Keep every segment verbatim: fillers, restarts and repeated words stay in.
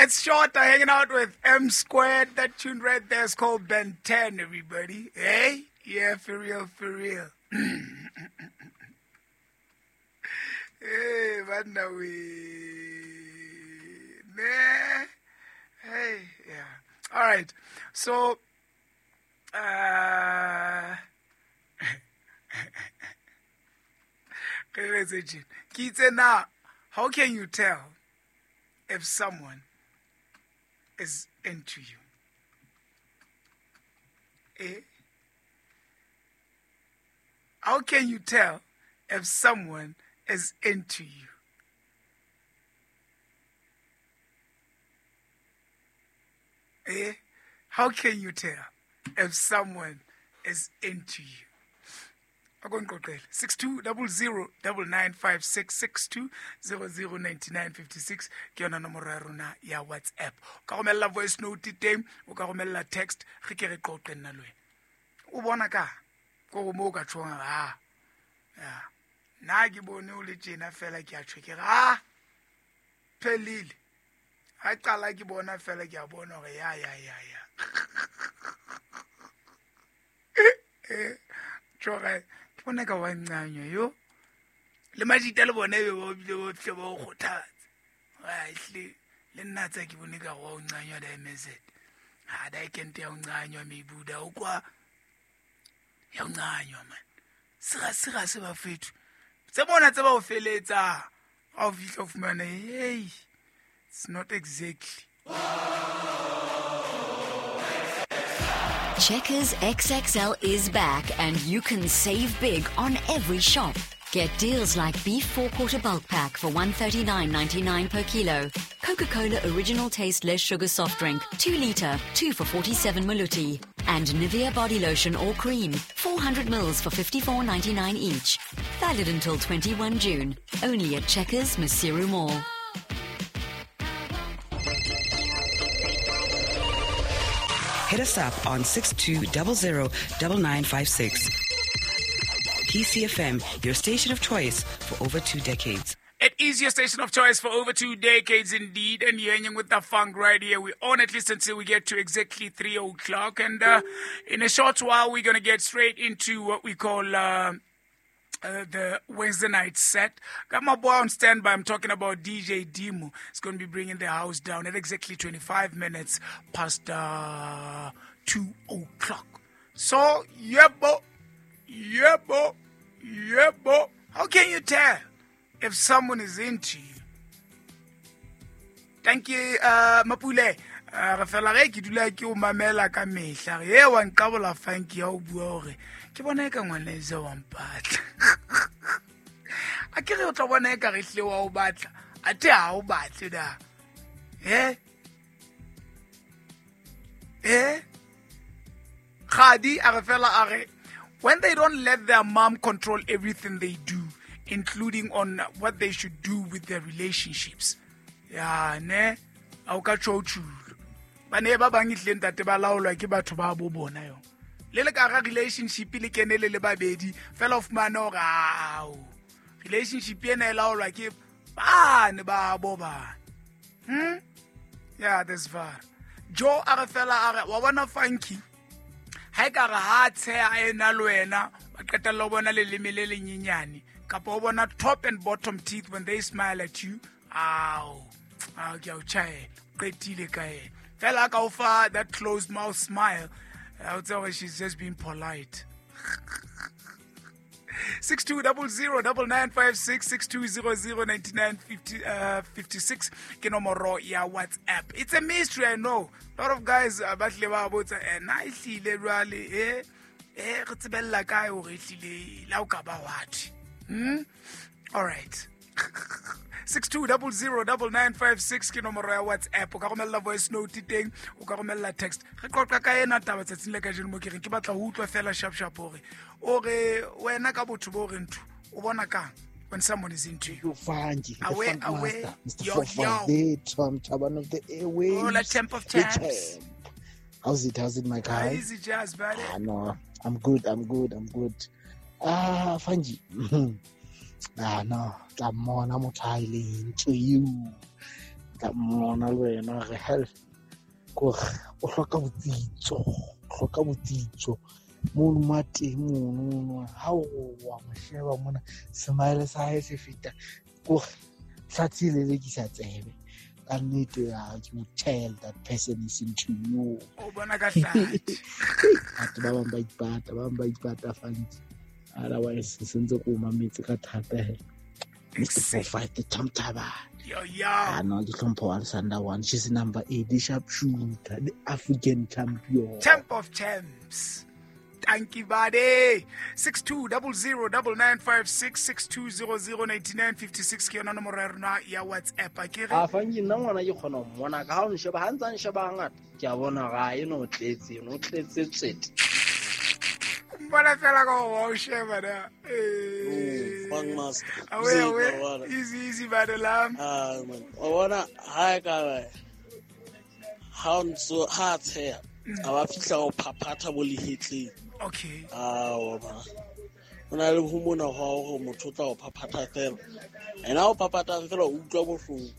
It's Shorter hanging out with M Squared. That tune right there is called Ben ten, everybody. Hey? Yeah, for real, for real. Hey, man, we. Hey, yeah. All right. So, uh, how can you tell if someone is into you? Eh? How can you tell if someone is into you? Eh? How can you tell if someone is into you? six two zero zero nine nine five six six two zero zero nine nine five six ke yona nomoro ya rona ya WhatsApp. O ka romella voice note teng, o ka romella text, re ke re qoqe nna le wena. O bona ka ko mo ka tshwang ha. Ya. Nna ke bone o le tjena fela ke a tjho ke re ah phelile. Ha qala ke bona fela ke a bona hore ya ya ya ya. Eh tjore ke bona ka wa nqanywa yo. Le majita le bone be ba bile ba tle ba o kgothatsa. Ai hle le nna tsa ke bone ka wa o nqanywa da M Z. Ha da kente ya o nqanywa mebuda o kwa ya o nqanywa man. Sira sira se ba fethu. Tse bona tse ba o feletsa. Ha o fihla o fumana hey it's not exactly. Checkers X X L is back and you can save big on every shop. Get deals like beef four-quarter bulk pack for one thirty-nine ninety-nine per kilo, Coca-Cola original taste less sugar soft drink, two litre, two for forty-seven maluti, and Nivea body lotion or cream, four hundred mils for fifty-four ninety-nine each. Valid until twenty-first of June, only at Checkers Maseru Mall. Hit us up on six two zero zero nine nine five six. P C F M, your station of choice for over two decades. It is your station of choice for over two decades indeed, and you're hanging with the funk right here. We're on at least until we get to exactly three o'clock, and uh, in a short while we're going to get straight into what we call uh, uh, the Wednesday night set. Got my boy on standby. I'm talking about D J Dimo. He's going to be bringing the house down at exactly twenty-five minutes past uh, two o'clock. So, yeah, bo, yeah, bo, yeah, bo. How can you tell if someone is into you? Thank you, uh, Mapule. Re fela ge ke dula ke o mamela ka mehla. Re wa nqabola funky ya o bua hore ke bona e ka ngwana e wa mpatla. A ke re o tla bona e ka re hle wa o batla. Athe ha o batle da. Eh? Eh? Khadi a re fela a re when they don't let their mom control everything they do, including on what they should do with their relationships. Ya ne a o ka tjho. Ba ne ba bang ihle ntate ba laolwa ke batho ba bo bona yo. Le le ka ga relationship le kene le le babedi fela of fumana hore ao relationship ena e laolwa ke ba ne ba bo ba. Hmm? Yeah, that's far. Joe a re fela a re wa bona funky. Ha e ka re ha tsheha ena le wena ba qetella o bona leleme le lenyenyane kapa o bona top and bottom teeth when they smile at you. Ao. Ao ke a o tjhaela. Qetile ka ena. Fela ka o fa that closed mouth smile. I would say she's just being polite. six two zero zero nine nine five six six two zero zero nine nine five six ke nomoro ya WhatsApp. It's a mystery, I know. A lot of guys ba tle ba botsa eh na e hlile jwale eh eh re tsebella kae hore e hlile la o ka ba what. Hmm? All right. six two zero zero nine nine five six ke nomoro ya WhatsApp. O ka romella voice note teng, o ka romella text. Re qoqa ka ena taba tsatsing le kajeno mo ke reng ke batla ho utlwa fela sharp sharp hore o re wena ka botho bo re ntho o bona kang when someone is into you. Funky, the away, funk away, master, Mister yo, Four Five, the Tom Chaban of the airwaves. Hola, champ of champs. How's it? How's it, my guy? Easy jazz, buddy. Ah, no, I'm good. I'm good. I'm good. Ah, Funky. Ah, no, tla mmona motho a ileng into you. Tla mmona le wena re hell gore o hloka botsitso, hloka botsitso. Mono ma teng mono ha o wa mo sheba mona smile sa hae se feta gore hlatsi le lekisa tsebe. Ka nnete ya you tell that person is into you. O bona ka hlatsi. Batho ba bang ba ipata, ba bang ba ipata fantsi. Otherwise sentse ko mametse ka thata he. Mister four five the Tamtaba. Yo yo. Ah no, ke hlompho Alexander one. She's number eight, the sharpshooter, the African champion. Champ of champs. Thank you, buddy. six two zero zero nine nine five six six two zero zero nine nine five six ke yona nomoro ya rona ya WhatsApp. A ke re a fangi nna ngwana ke kgona ho mmona ka ha o nsheba ha ntsa nsheba hangata ke a bona ga e no tletse no tletse tsete mbona fela ka o sheba na eh bang master awe awe easy easy bad lam ah man o bona ha ka ba ha ntso ha tsheya a ba fihla o phaphatha bo lehetleng. Okay. Ah o ba o na le ho mona ho hore motho o tla o phaphatha fela ena o phaphatha fela o utlwa bohloko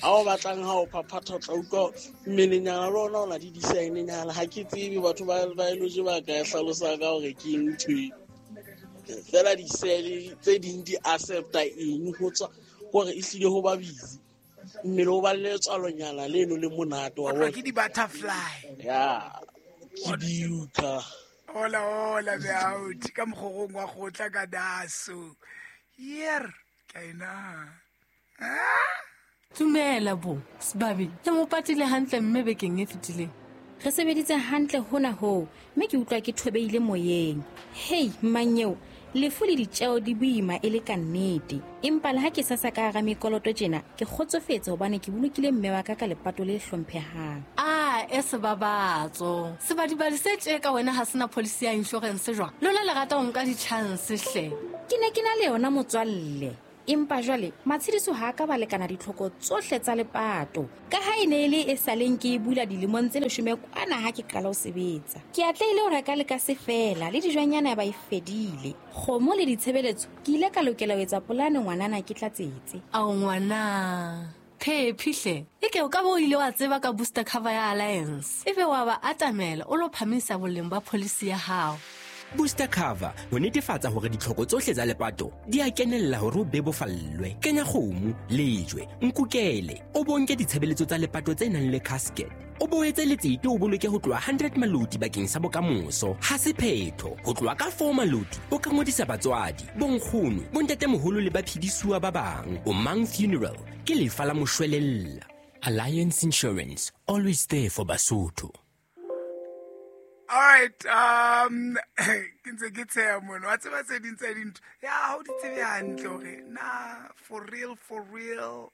ha o batlang ha o phaphatha o tla utlwa mmelenyana le ona o na di design-nyana ha ke tsebe batho ba biology ba ka hlalosa ka hore ke eng ntho e fela di-cell tse ding di accepta eng ho tswa hore e hlile ho ba busy mmele o ba le tswalonyana leno le monate wa bona ke di-butterfly ya ke diuka hola hola beauty ka mokgorong wa kgotla ka daso yer ka ena Tumela bo Sebabi le mo patile hantle mme bekeng e fetileng re sebeditse hantle hona ho mme ke utlwa ke thobeile moyeng. Hey mmanyeo lefu le ditjeo di boima e le ka nnete empa le ha ke sa sa ka hara mekoloto tjena ke kgotsofetse hobane ke bolokile mme wa ka ka lepato le hlomphehang. Ah e sebabatso sebadibadi se tje ka wena ha sena policy ya insurance jwang lona le rata ho nka di-chance hle. Ke ne ke na le yona motswalle empa jwale matshediso ha ka ba lekana ditlhoko tsohle tsa lepato ka ha e ne e le e saleng ke e bula dilemong tse leshome kwana ha ke qala ho sebetsa. Ke atlehile ho reka le ka se fela le dijwanyana ba e fedile kgomo le ditshebeletso ke ile ka lokela ho etsa polane ngwanana ke tlatsetse. Ao ngwana phephihle e ke o ka bo ile wa tseba ka booster cover ya Alliance ebe wa ba atamela o lo phamisa boleng ba policy ya hao. Booster cover ho netefatsa hore ditlhoko tsohle tsa lepato di a kenella hore o bebofallwe. Kenya kgomo, lejwe, nkukele, o bonke ditshebeletso tsa lepato tse nang le casket. O boetse letsete o boloke ho tloha hundred maloti bakeng sa bokamoso. Ha se phetho, ho tloha ka four maloti o ka ngodisa batswadi, bonkgono, bontatemoholo le baphedisuwa ba bang. O Mang Funeral ke lefa la moshwelella. Alliance Insurance, always there for Basotho. All right, um ke ntse ke tsheya mono wa tseba tse ding tsa dintho ya ha o di tsebe hantle hore na for real for real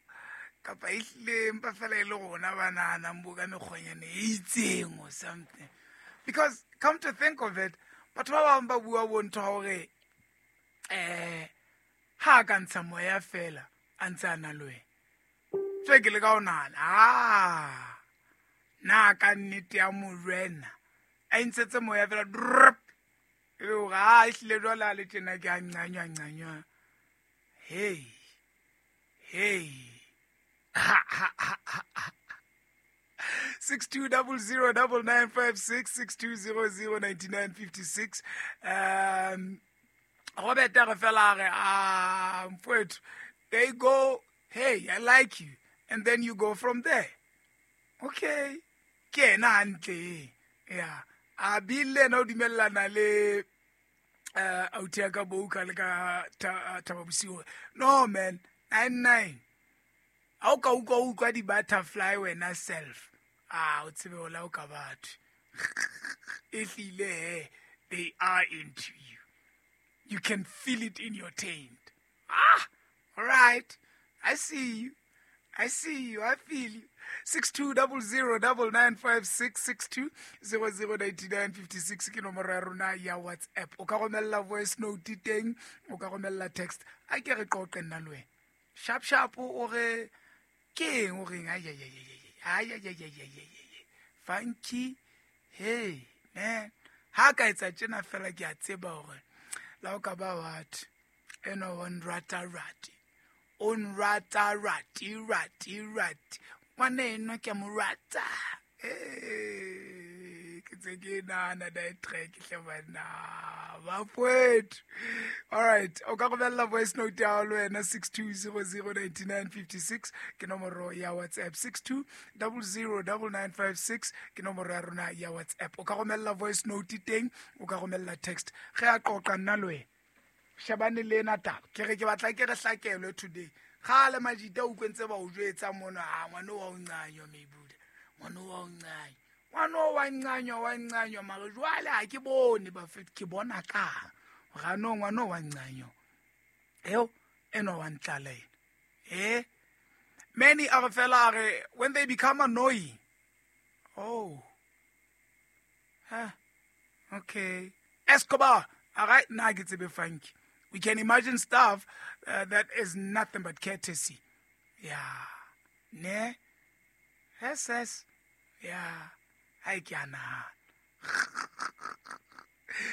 kapa ehlile empa fela e le rona ba nahanang bo ka mekgonyane e itseng or something. Because come to think of it, batho ba bang ba bua bo ntho hore eh ha ka ntsha moya fela a ntse a na le wena tse ke le ka o nahana ah na ka nnete ya morena a ntshetse moya fela drop e be hore ha ehlile jwale a le tjena ke a nqanywa nqanywa. Hey hey six two zero zero nine nine five six six two zero zero nine nine five six. Um Robert a re fela a re ah mfowethu they go hey I like you and then you go from there. Okay ke ena hantle yeah a bile na o dumellana le eh authi ya ka bouka le ka Thaba Bosiu. No man nine nine ha o ka utlwa utlwa di-butterfly wena self ah o tsebe hola o ka batho ehlile they are into you. You can feel it in your taint. Ah all right, I see you, I see you, I feel you. six two zero zero nine nine five six six two zero zero nine nine five six ke nomoro ya rona ya WhatsApp. O ka romella voice note teng, o ka romella text. A ke re qoqe nna le wena. Sharp sharp o re ke eng o reng ay ay ay ay ay ay ay ay ay. Funky hey man ha ka etsa tjena fela ke a tseba hore la o ka ba what eno one rata rati O nrata rati rati rati. Ngwana enwa ke a mo rata. Eh, ke tse ke nahana that track hle banna. Bafowethu. All right, o ka romella voice note ya hao le wena six two zero zero nine nine five six ke nomoro ya WhatsApp, six two double zero double nine five six ke nomoro ya rona ya WhatsApp. O ka romella voice note teng, o ka romella text. Ge a qoqa nna le wena, shebane le ena taba. Ke re ke batla ke re hlakelwe today. Kgale majita o utlwentse ba o jwetsa mona, ah, ngwana wa o ncanyo mebuda. Ngwana wa o ncanyo. Ngwana wa ncanyo, wa ncanyo, mara jwale ha ke bone bafethu, ke bona ka. Ga no ngwana wa ncanyo. Eo eno wa ntlala ena. Eh? Many are fela are when they become annoying. Oh. Huh. Okay. Escobar. All right, now ke tsebe funky. We can imagine stuff, uh, that is nothing but courtesy. Yeah. Ne? Yes, yes. Yeah. I can.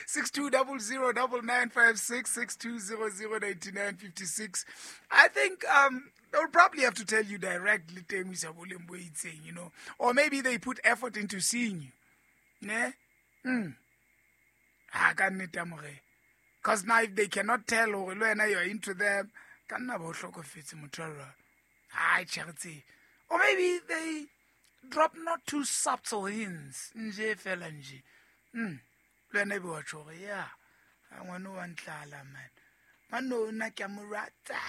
Six two double zero double nine five six, six two zero zero ninety nine fifty six. I think um they'll probably have to tell you directly, you know, or maybe they put effort into seeing you. Ne? Hmm. Ah, ka nnete amore. Because now if they cannot tell or you're into them, ka nna ba o hlokofetse motho wa rona. Ai, tjhe. Or maybe they drop not too subtle hints. Nje fela nje. Hmm. Le wena ebe wa tjho hore, yeah, ngwana wa ntlala, man. Ngwana o nna ke a mo rata.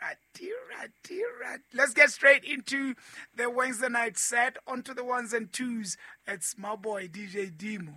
Rati, rati, rati. Let's get straight into the Wednesday night set. Onto the ones and twos. It's my boy D J Dimo.